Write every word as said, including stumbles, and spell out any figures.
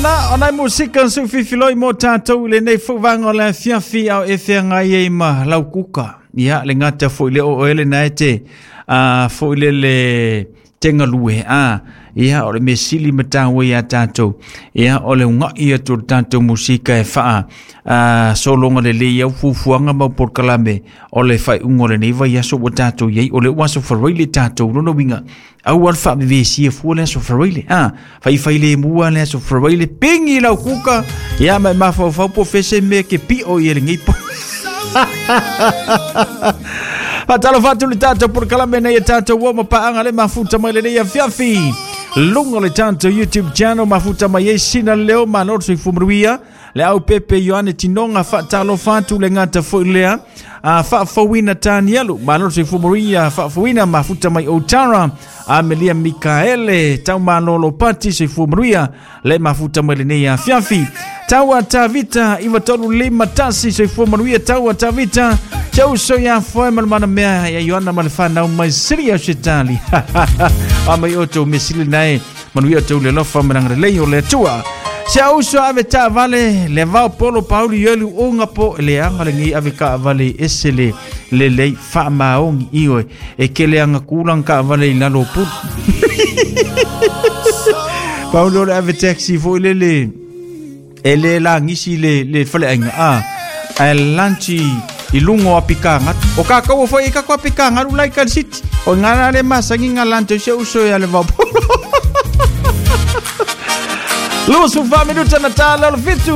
Na o nai musika su fifiloi mo tātou i lenei fuvaga o le afiafi ao e feagai ai ma lau kuka. Ia le gata foi le o ele na e te a foi le le tenga lue a ia o le mesili mataua ia tātou. Ia o le ungai atu o le tātou musika e faa a sologa lelei au fuafuaga ma polokalame o le faaiuga o lenei vaiaso ua tatou iai, o le ua aso Faraile le tatou lona uiga aua le faavevesia fua le aso Faraile a faifai lemua le aso Faraile pigi lau kuka ia ma e mafaufau po fese mea ke pio i e lenei po. Faatalofa atu le tatou polokalame nei e tatou ua mapaaga le mafuta mai lenei afiafi luga o le tatou YouTube channel mafuta mai ai sina leo malo le soifua manuia le au pepe Ioane Tinoga faatalofa atu le gata foi lea a faafouina Tanialu malo le soifua manuia faafouina mafuta mai Otara Amelia Mikaele Taumalolo Pati soifua manuia le mafuta mai lenei afiafi Taua Tavita iva tolu lima tasi soifua manuia Taua Tavita Chau so ia foe ma le mana mea ia Ioana ma le whanau mai siri au shetali. A mai o tau mesili nae manuia tau le lofa ma lei o le atua. Se au so ave ta vale le vao polo pauli yelu unga po le anga le ngi ave ka vale ese le le lei fa maongi ioi e kele anga kulang ka vale i lalo pu. Paulo le ave taxi fo le le e le la ngisi le le fale ainga a a lanchi i lungo apikanga o ka kau foi i ka ko apikanga lu lai kal city o ngana le masangi nga se uso ya le vao polo. Lusu fa minuta na tala o fitu.